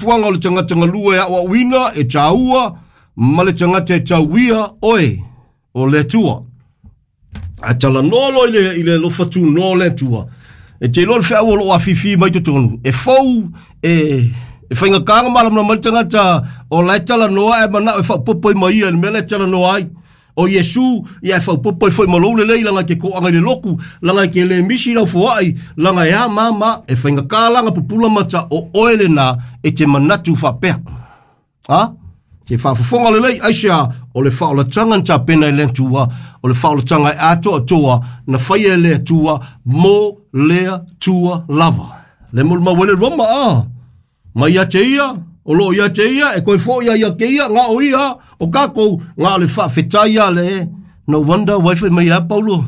Fuaga o le tagata galue e aoaoina, e taua, ma le tagata e tauia oe, o le Atua. Ae talanoa loa i le, i le alofa tunoa o le Atua, e te iloa le feau o loo afifi mai totonu, e fou, e, e faigata ona malamalama ai le tagata o la e talanoa ae manao e faaopoopo ai ma ia i le mea la e talanoa ai. O Iesu, ia e faaopoopo ai foi ma lou lelei leaga e te toaga i le lotu, leaga e te le misi lau foai, leaga e a ma ma, e faigata la ona pupula mata o oe lena e te manatu faapea. Ha? Te faafofoga lelei, aisea, o le faaolataga na tapena e le Atua, o le faaolataga e atoatoa na faia e le Atua mo le Atua lava. Le molimau ai le Roma, a mai ia te ia, o loo ia te ia, e toe foi ia ia te ia, na o ia, o tatou, na o le faafetai a le, no wonder why fai mai a Paulo,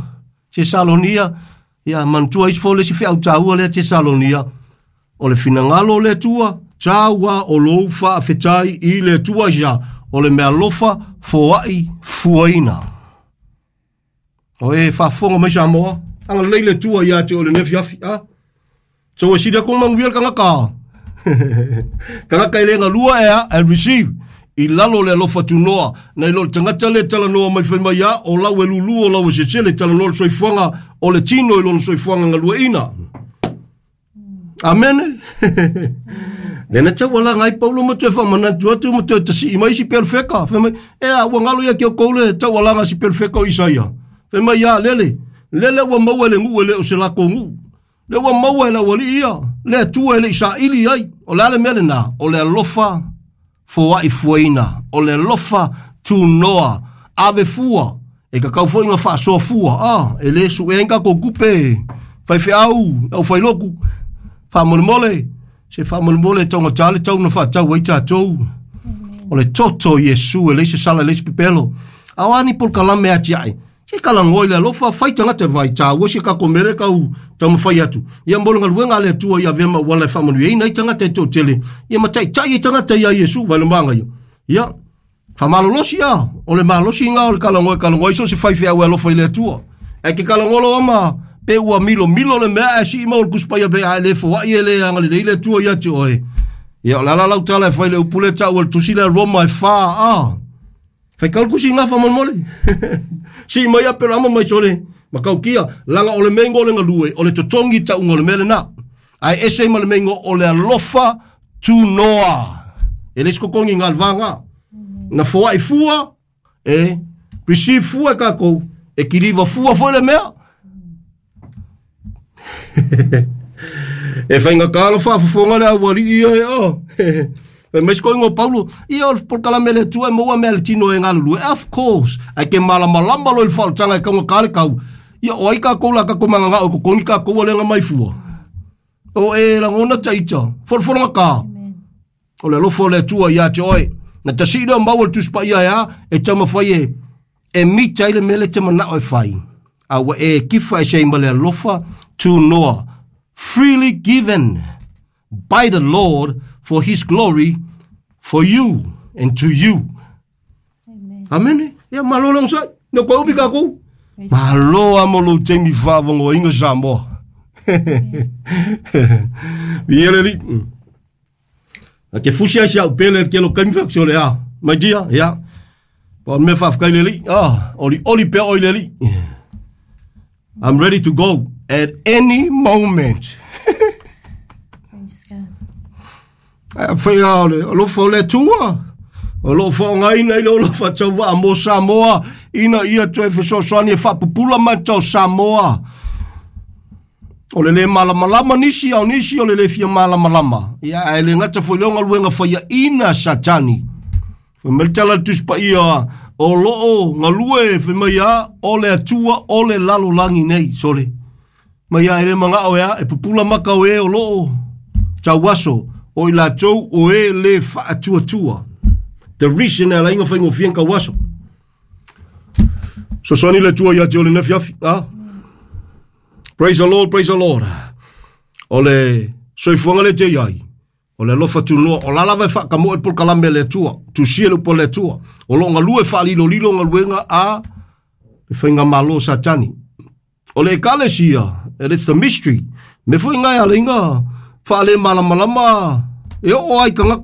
Tesalonia, ia manatua isi fo le isi feau taua lea Tesalonia, o le finagalo o le Atua, taua o lou faafetai i le Atua ia, o le mealofa foai fuaina. O e faafofoga mai Samoa, agalelei le Atua ia te oe i lenei afiafi, a? So e sili atu ona manuia le tagata. Tagata e le galua e a, e receive i lalo o le alofa tunoa, nai lo le tagata le talanoa mai fai mai a, o lau e lulu, o lau e sesele, talanoa le soifuaga o le tino i lona soifuaga galueina. Amene. Le na taualaga ai Paulo ma toe faamanatu atu ma toe tasii mai isi perofeka. Fai mai, e a, ua galo ia te outou le taualaga a si perofeka o Isaia. Fai mai, a, lele, lele ua maua e le nuu e le o se latou nuu. Le ua maua e le aualii ia, le Atua e le i saili ai. O le a le mea lena? O le alofa foai fuaina, o le alofa tunoa, ave fua, e tatau foi ona faasoa fua. Ah, e le suea ai ni tatou tupe, faifeau, le aufailotu, faamolemole, se faamolemole e taugata le tau na faatau ai tatou. O le toto o Iesu e leai se sala, e leai se pepelo. A o a ni polokalame atiae? Se talanoa i le alofa, fai tagata e vaai, taua si a tatou mea lea e tau taumafai atu. Ia mo le galuega a le Atua ia avea ma auala e faamanuiaina ai tagata e toatele, ia ma taitai ai tagata iā Iesu, vaai le magaia. Ia, faamalolosi a, o le malosi lena o le talanoa e talanoa ai so o se faifeau e alofa i le Atua. Ae ke talanoa loa ma pe ua milomilo le mea ae sii mau le Tusi Paia pe a e le foai e le agalelei le Atua ia te oe. Ia, o le a la lau tala e fai i le upu lea e taua i le Tusi lea Roma e fa, a. Faitau le tusi i gafa molemole. Sii mai Aperama mai sole matautia, laga o le mea ingoa o le galue, o le totogi tauga o le mea lena. Ae ese ai ma le mea ingoa o le alofa tunoa. E le se totogi i galvaga. Na foai fua, e receive fua e tatou, e kiliva fua foi le mea. E faigata ona faafofoga le aualii ia e o. Fai mai se koiga o Paulo, ia o le polokalame a le Atua e maua mea a le tino e galulue. Of course, ae ke malamalama loa i le faaolataga e taugata le tau. Ia o ai tatou la tatou mananao e totogi tatou a le aga mai fua. O e lagona ta ita, folafolagata. O le alofa o le Atua ia te oe. Na tasii lea o maua le Tusi Paia e a, e taumafai e, e mita ai le mea lea e te manao e fai. A ua e kifa ese ai ma le alofa tunoa. Freely given by the Lord for his glory for you and to you. Amene. Ia malo le onosai. No koe upi kākou. Malo a mo lou taimi whaavangoainga Samoa. Viia le Alii. A ke fusi ai si au pele le kelo kaimi whaku sole a. My dear, ia. Pa o le mea whaafetai le Alii. Ah, oli oli pea oi le Alii. I'm ready to go at any moment. Praise God. Ae whai a o le alofa o le Atua. O loo faaaogaina i le ola faatauvaa mo Samoa ina ia toe fesoasoani e faapupula mata o Samoa. O le le malamalama nisi, a o nisi o le le fia malamalama. Ia, ae le gata foi lea o galuega faiaina a Satani. Fai mai le tala a le Tusi Paia, o loo galue, fai mai a, o le Atua o le lalolagi nei, sole. Mai a e le manao e a, e pupula maka o e o loo tauaso, o i latou o e le faatuatua. The reason e ala ai ona faigofie ona tauaso. Sosoani le Atua ia te oe i lenei afiafi. Ah? Praise the Lord, praise the Lord. O le soifuaga le te iai, o le alofa tunoa, o la lava e faakamoe le polokalame a le Atua, tusia le upu a le Atua. O lo o galue faalilolilo galuega a le faigamalo o Satani. O le ekalesia, and it's the mystery, me foi ngai ala inga whaale malamalama E o ai kangaka.